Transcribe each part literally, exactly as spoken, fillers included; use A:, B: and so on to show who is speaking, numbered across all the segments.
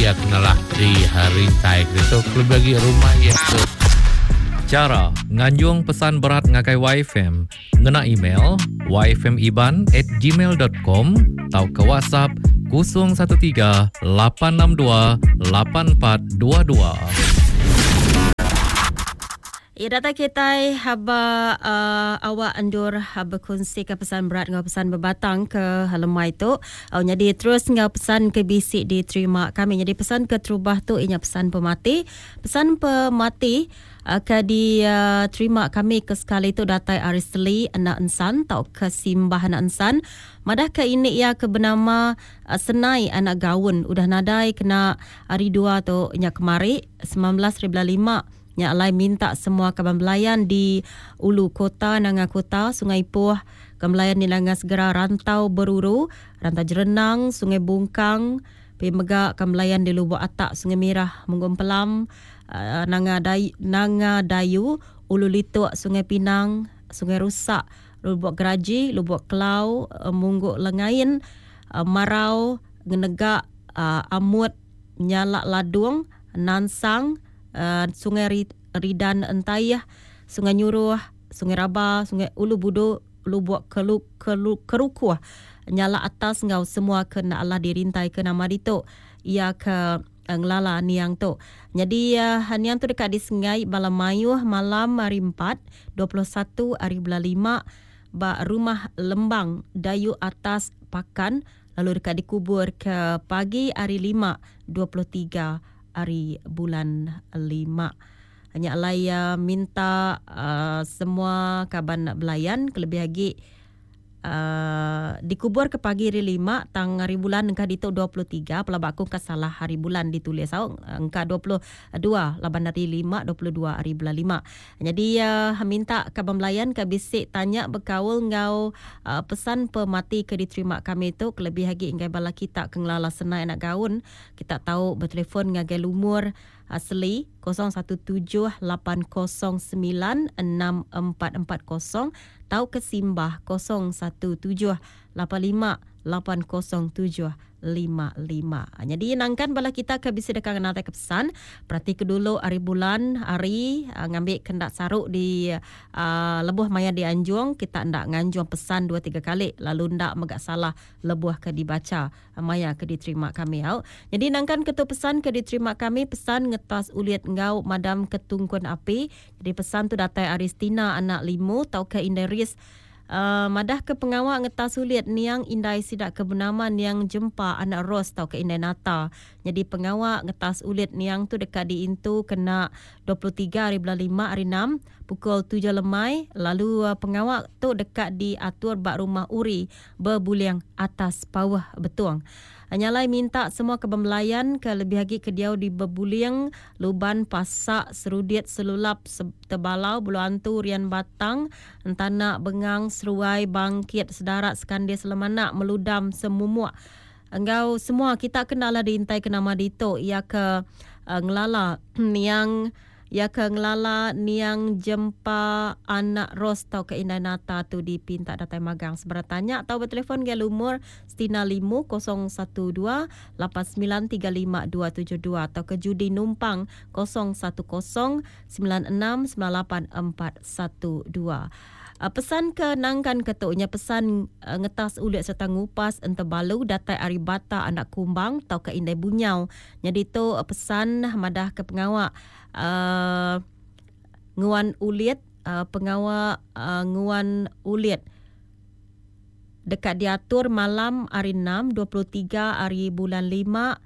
A: iya kenalah di rintai itu kelebih lagi rumah iya tu.
B: Cara nganjung pesan berat ngagai Y F M ngena email y f m iban at gmail dot com atau ke WhatsApp kosong satu tiga lapan enam dua lapan empat dua dua.
C: Ya, data kita haba uh, awak endur haba kongsi ke pesan berat ngau pesan berbatang ke lemai tu. Au jadi terus ngau pesan ke bisik diterima kami. Jadi pesan ke terubah tu inya pesan pemati. Pesan pemati uh, ke diterima uh, kami ke sekali tu datai Arisli anak ensan tau ke Simbah anak ensan. Madah ke ini ia ke bernama uh, Senai anak Gaun udah nadai kena hari dua tu nya kemari sembilan belas ribu lima. Nya alai minta semua kaban belayan di Ulu Kota, Nanga Kota, Sungai Ipoh, kaban belayan di Nanga Segera, Rantau Beruru, Rantau Jerenang, Sungai Bungkang, pi mega kaban belayan di Lubuk Atak, Sungai Mirah, Munggum Pelam, uh, Nanga Dayu, Nanga Dayu, Ulu Lituk, Sungai Pinang, Sungai Rusak, Lubuk Geraji, Lubuk Kelau, uh, Mungguk Lengain, uh, Marau, Ngenegak, uh, Amut, Nyalak Ladung, Nansang, Uh, Sungai Ridan Entayah, Sungai Nyuruh, Sungai Raba, Sungai Ulu Budu, Lubuk Kelu, Kelu, Kerukuh, Nyala Atas ngau semua kena Allah dirintai ke nama ditu. Ia ke uh, ngelala niang tu. Jadi uh, niang tu dekat di Sungai Balamayuh malam hari empat, dua puluh satu hari bulan lima ba rumah Lembang Dayu Atas Pakan, lalu dekat dikubur ke pagi hari lima, dua puluh tiga hari bulan lima. Hanya alai uh, minta uh, semua kaban nak belayan kelebih lagi uh, dikubur ke pagi hari lima tang hari bulan engkah ditu dua puluh tiga pelabak aku ke salah hari bulan ditulis au engkah dua puluh dua laban hari lima dua puluh dua hari bulan lima. Jadi uh, minta kaban belayan ke bisik tanya berkaul ngau uh, pesan pemati ke diterima kami tu kelebih lagi engkai bala kita ke ngelala senai anak gaun kita tahu bertelefon ngagai lumur asli kosong satu tujuh lapan kosong sembilan enam empat empat kosong tau ke Simbah kosong satu tujuh lapan lima lapan kosong tujuh lima lima. Jadi nangkan bala kita ke bisa dekat kenal ke pesan perhati ke dulu hari bulan hari uh, ngambil kendak saruk di uh, lebuh maya di Anjung kita ndak nganjung pesan dua tiga kali lalu ndak megak salah lebuh ke dibaca maya ke diterima kami au. Jadi nangkan ketu pesan ke diterima kami pesan ngetas uliat ngau madam ketungkun api. Jadi pesan tu datai Aristina anak limu tau ke Inderis. Uh, madah ke pengawak ngetas sulit niang indai sidak ke bernama niang jempa anak Ros tau ke indai Nata. Jadi pengawak ngetas ulit niang tu dekat diintu kena dua puluh tiga hari bulan lima hari enam pukul tujuh lemai. Lalu uh, pengawak tu dekat diatur bak rumah Uri berbuliang atas pawah betuang. Nyalai minta semua kebembelayan ke lebih lagi ke diau di Bebuling, Luban, Pasak, Serudit, Selulap, Tebalau, Bulu Antu, Rian Batang, Entanak, Bengang, Seruai, Bangkit, Sedarat, Sekandis, Selemanak, Meludam, Semumuk. Engkau semua kita kenal lah diintai ke nama dito. Ia ke uh, ngelala niang ya ke ngelala niang jempa anak Ros tau ke Indai Nata tu dipinta datai magang. Seberatanya atau bertelefon ke lumur Stina Limu kosong satu dua lapan sembilan tiga lima dua tujuh dua atau ke Judi Numpang kosong satu kosong sembilan enam sembilan lapan empat satu dua. Pesan ke nangkan ketuknya pesan uh, ngetas ulit serta ngupas entebalu datai ari bata anak kumbang tau ke Indai Bunyau. Jadi tu uh, pesan madah ke pengawak uh, nguan ulit uh, pengawak uh, nguan ulit dekat diatur malam hari enam dua puluh tiga hari bulan lima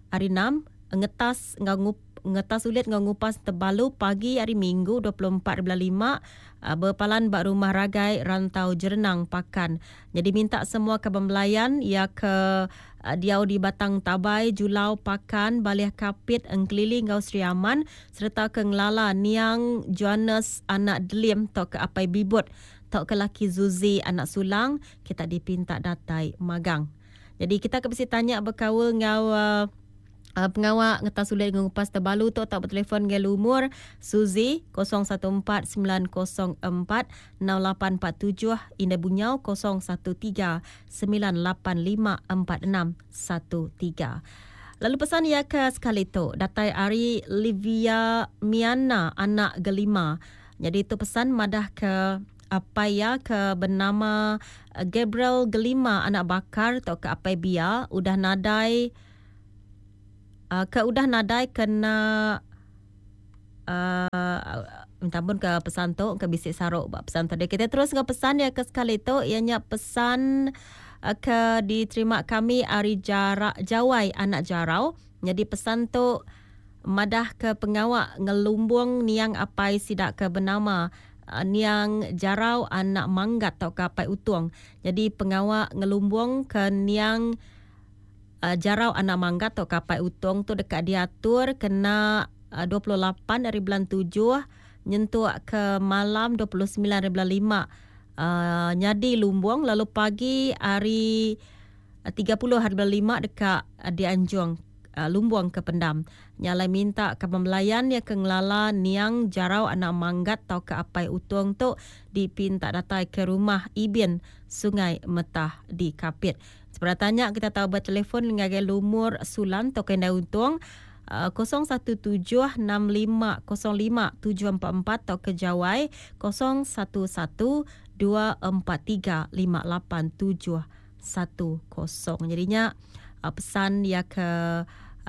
C: hari enam ngetas ngau ngup ngetas ulit ngau ngupas tebalu pagi hari Minggu dua puluh empat bulan lima berpalan bak rumah Ragai Rantau Jerenang Pakan. Jadi minta semua kebembelayan ya ke uh, diau di Batang Tabai, Julau, Pakan, Baliah Kapit, Engkelili ngau Sri Aman serta ke ngelala Niang Johannes anak Delim tau ke Apai Bibut tau ke laki Zuzi anak Sulang kita dipinta datai magang. Jadi kita ke besi tanya berkaul ngau uh, Uh, pengawak ngetas sulit ngupas tebalu tu atau bertelefon dengan lumur Suzy kosong satu empat sembilan kosong empat enam lapan empat tujuh, Indah Bunyau kosong satu tiga sembilan lapan lima empat enam satu tiga. Lalu pesan ia ke sekali tu datai ari Livia Miana anak Gelima. Jadi tu pesan madah ke apai ya ke bernama Gabriel Gelima anak Bakar atau ke apai Bia udah nadai uh, ke udah nadai kena uh, minta ampun ke pesan tu ke bisik saruk bak pesan tadi. Kita terus ke pesan ya ke sekali tu ianya pesan ke diterima kami ari jarak Jawai anak Jarau. Jadi pesan tu madah ke pengawak ngelumbung niang apai sidak ke bernama uh, niang Jarau anak Manggat atau ke apai Utung. Jadi pengawak ngelumbung ke niang uh, Jarau anak Manggat atau ke apai Utung tu dekat diatur kena uh, dua puluh lapan dari bulan tujuh nyentuk ke malam dua puluh sembilan dari bulan lima. Uh, nyadi lumbung lalu pagi hari tiga puluh hari bulan lima dekat uh, dianjung uh, lumbung ke pendam. Nyalai minta ke pembelayan ya ke ngelala niang Jarau anak Manggat atau ke apai Utung tu dipinta datai ke rumah Ibin Sungai Metah di Kapit. Sebenarnya tanya kita tahu bertelefon ngagai lumur Sulan atau Kendai Untung kosong satu tujuh enam lima kosong lima tujuh empat empat atau ke Jawai kosong satu satu dua empat tiga lima lapan tujuh satu kosong. Jadinya pesan ya ke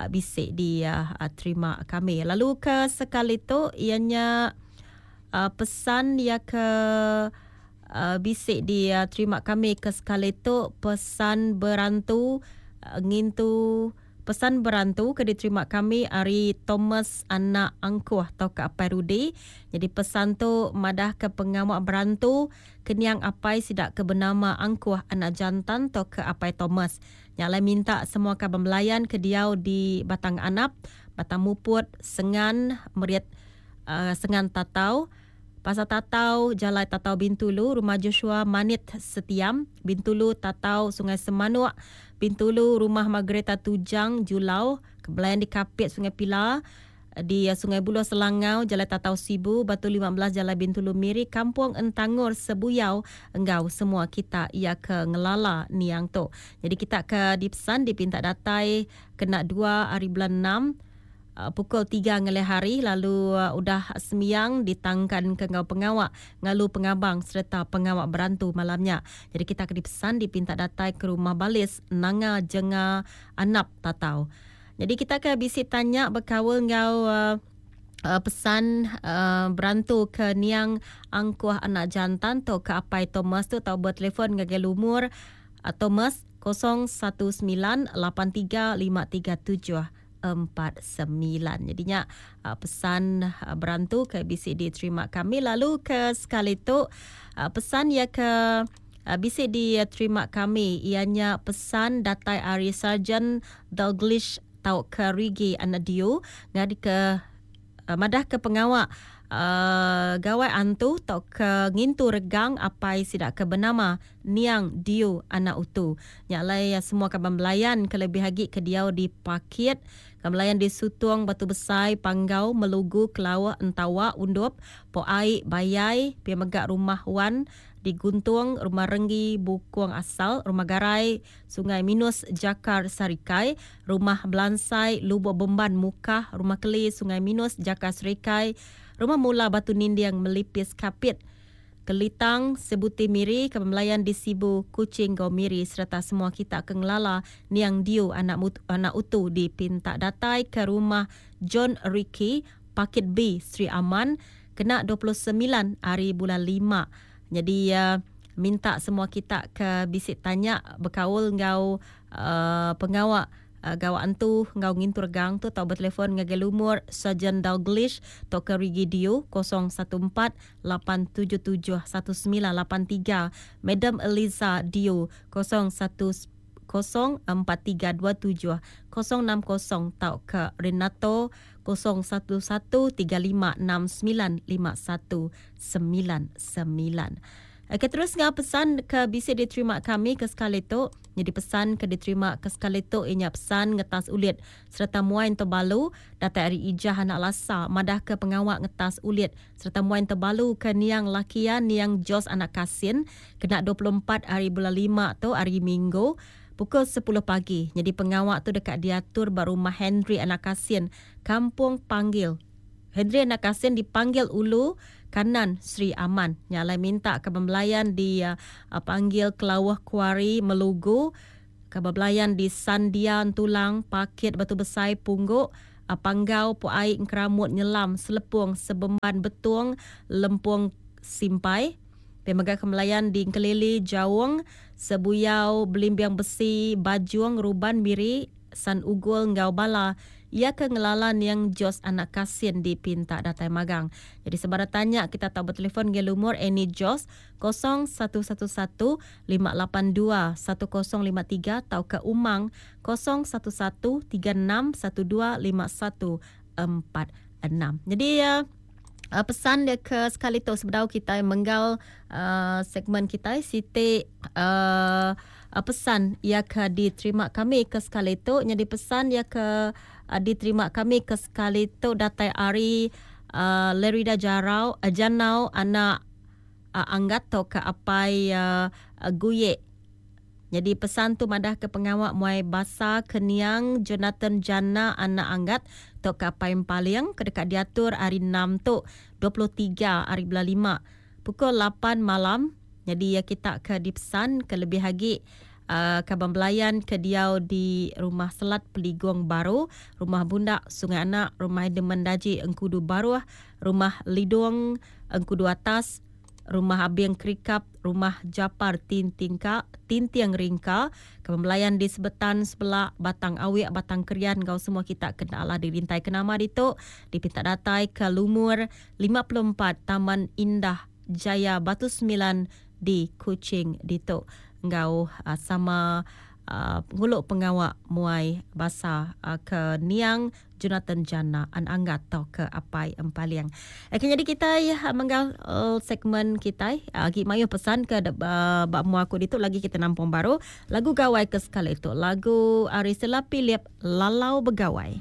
C: bisik di terima kami. Lalu ke sekali tu ianya pesan ya ke bisik di terima kami ke sekali tu pesan berantu ngintu pesan berantu ke diterima kami ari Thomas anak Angkuh atau ke apai Rudi. Jadi pesan tu madah ke pengawak berantu keniang apai sidak ke bernama Angkuh anak jantan atau ke apai Thomas. Yang lain minta semua kaban belayan ke diau di Batang Anap, Batang Muput, Sengan, Meriat uh, Sengan Tatau, Pasar Tatau, Jalai Tatau Bintulu, Rumah Joshua Manit Setiam, Bintulu Tatau Sungai Semanuk, Bintulu Rumah Margareta Tujang Julau, Kebelayan di Kapit Sungai Pila, di Sungai Buloh Selangau, Jalai Tatau Sibu, Batu lima belas Jalai Bintulu Miri, Kampung Entangor Sebuyau, enggau semua kita ia ke ngelala niang tu. Jadi kita ke dipesan dipinta datai kena dua hari bulan enam pukul tiga ngelih hari lalu uh, udah semiang ditangkan ke ngau pengawak ngalu pengabang serta pengawak berantu malamnya. Jadi kita ke dipesan dipinta datai ke rumah Balis Nanga Jenga Anap Tatau. Jadi kita ke bisi tanya berkawal ngau uh, uh, pesan uh, berantu ke niang Angkuh anak jantan tu ke apai Thomas tu tau bertelefon ngagai lumur uh, Thomas kosong satu sembilan lapan tiga lima tiga tujuh empat sembilan. Jadinya uh, pesan uh, berantu ke B C diterima kami. Lalu ke sekali tu uh, pesan ya ke uh, B C diterima kami ianya pesan datai ari Sarjan Dalglish tau ke Rigi anak Dio ngadi ke uh, madah ke pengawak Uh, gawai antu tau ke ngintu regang apai sidak ke bernama Niang Dio anak utu. Nyak lai semua kaban belayan kelebih lagi ke diau di Pakit, kaban belayan di Sutung, Batu Besai, Panggau, Melugu, Kelawak, Entawa, Undup, Poai, Bayai, pia megak Rumah Wan di Guntung, Rumah Renggi, Bukung Asal, Rumah Garai, Sungai Minus, Jakar Sarikai, Rumah Belansai, Lubuk Bemban, Mukah, Rumah Keli, Sungai Minus, Jakar Sarikai, Rumah Mula Batu Nindiang Melipis Kapit, Kelitang, Sebuti Miri, Kebelayan di Sibu, Kuching, Gau Miri serta semua kita ke ngelala Niang Diu anak mut, anak utu di Pintak datai ke rumah John Ricky, Pakit B, Sri Aman, kena dua puluh sembilan hari bulan lima. Jadi uh, minta semua kita ke bisik tanya berkaul ngau uh, pengawak Uh, gawak antu ngau ngintur gang tu tau bertelefon ngagai lumur Sarjan Dalglish tau ke Rigi Dio kosong satu empat lapan tujuh tujuh satu sembilan lapan tiga, Madam Eliza Dio kosong satu kosong empat tiga dua tujuh kosong enam kosong tau ke Renato kosong satu satu tiga lima enam sembilan lima satu sembilan sembilan. Okey, terus ngah pesan ke bisa diterima kami ke sekali tu. Jadi pesan ke diterima ke sekali tu ianya pesan ngetas ulit serta muain terbalu datai ari Ijah anak Lasa madah ke pengawak ngetas ulit serta muain terbalu ke niang lakian niang Jos anak Kasin kena dua puluh empat hari bulan lima tu hari Minggu pukul sepuluh pagi. Jadi pengawak tu dekat diatur ba rumah Henry Anak Kasin, Kampung Panggil. Henry Anak Kasin dipanggil Ulu Kanan Sri Aman. Nyalai minta ke pembelayan di uh, panggil Kelawah Kuari Melugu, ke pembelayan di Sandian Tulang, Pakit Batu Besai Pungguk, uh, Panggau Puai Keramut Nyelam Selepung Sebemban Betung Lempung Simpai. Pemegang kemelayan di Kelili Jaung, Sebuyau Belimbiang Besi, Bajung Ruban Miri, San Ugul Ngau Bala. Ia ke ngelalan yang Jos Anak Kasin di Pinta Datai Magang. Jadi sebara tanya kita tahu bertelefon ke lumur Annie Jos kosong satu satu satu lima lapan dua satu kosong lima tiga atau ke Umang kosong satu satu tiga enam satu dua lima satu empat enam. Jadi ya, uh, pesan dia ke sekali tu sebedau kita menggal uh, segmen kita Siti uh, uh, pesan ia ke diterima kami ke sekali tu. Jadi pesan ia ke uh, diterima kami ke sekali tu datai ari uh, Lerida Jarau uh, Janau anak uh, anggat to ke apai uh, uh, Guyek. Jadi pesan tu madah ke pengawak muai basa keniang Jonathan Jana anak anggat tok ke apai Empaling ke dekat diatur hari enam tu dua puluh tiga hari bulan lima pukul lapan malam. Jadi ya kita ke dipesan ke lebih lagi uh, kaban belayan ke diau di Rumah Selat Peligong Baru, Rumah Bundak Sungai Anak, Rumah Demendaji Engkudu Baruh, Rumah Lidung Engkudu Atas, Rumah Abing Kerikap, Rumah Japar Tintingka, Tintiang Ringka, kebelayan di Sebetan sebelah Batang Awik, Batang Kerian, kau semua kita kena Allah dirintai ke nama ditu, dipinta datai ke Lumur lima puluh empat Taman Indah Jaya Batu Sembilan di Kuching ditu. Ngau uh, sama uh, nguluk pengawak muai basa uh, ke Niang Jonathan Jana an anggat atau ke apai Empaliang. Okay, jadi kita ya menggal uh, segmen kita lagi uh, mayu pesan ke uh, bak mu aku ditu lagi kita nampung baru lagu gawai ke sekali itu lagu Ari Sela Philip Lalau Begawai.